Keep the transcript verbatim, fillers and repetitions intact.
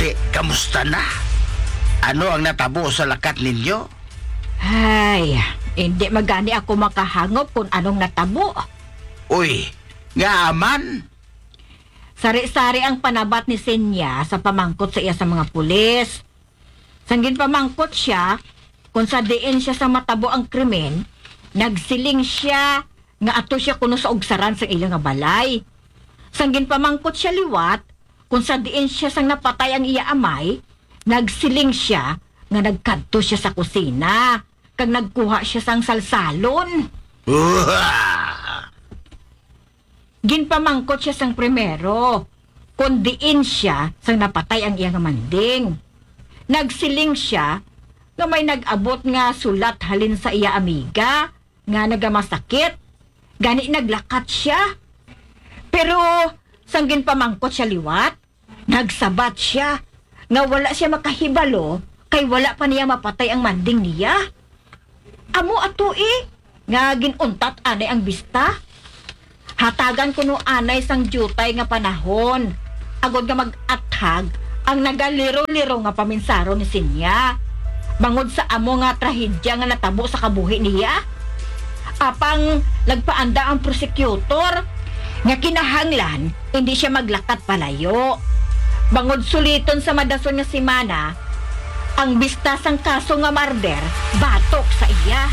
Ate, kamusta na? Ano ang natabo sa lakat ninyo? Ay, hindi magani ako makahangop kung anong natabo. Uy, nga man? Sari-sari ang panabat ni Sinya sa pamangkot sa iya sa mga pulis. Sang ginpamangkot siya kung sa diin siya sa matabo ang krimen, nagsiling siya nga ato siya kuno sa ugsaran sa iya nga balay. Sang ginpamangkot siya liwat kung sa diin siya sang napatay ang iya amay, nagsiling siya nga nagkadto siya sa kusina kag nagkuha siya sang salsalon. Uha! Ginpamangkot siya sang primero kon diin siya sang napatay ang iya nga manding. Nagsiling siya nga may nag-abot nga sulat halin sa iya amiga nga nagamasakit, gani naglakat siya. Pero sang ginpamangkot siya liwat, nagsabat siya nga wala siya makahibalo kay wala pa niya mapatay ang manding niya. Amo ato, eh, nga gin-untat anay ang bista. Hatagan kuno anay sang diutay nga panahon, agod nga mag-athag ang nagaliro-liro nga paminsaron ni Sinya bangod sa amo nga trahedya nga natabo sa kabuhi niya. Apang nagpaandam ang prosecutor nga kinahanglan hindi siya maglakat palayo, bangod suliton sa madason nga semana ang bista sang kaso nga murder batok sa iya.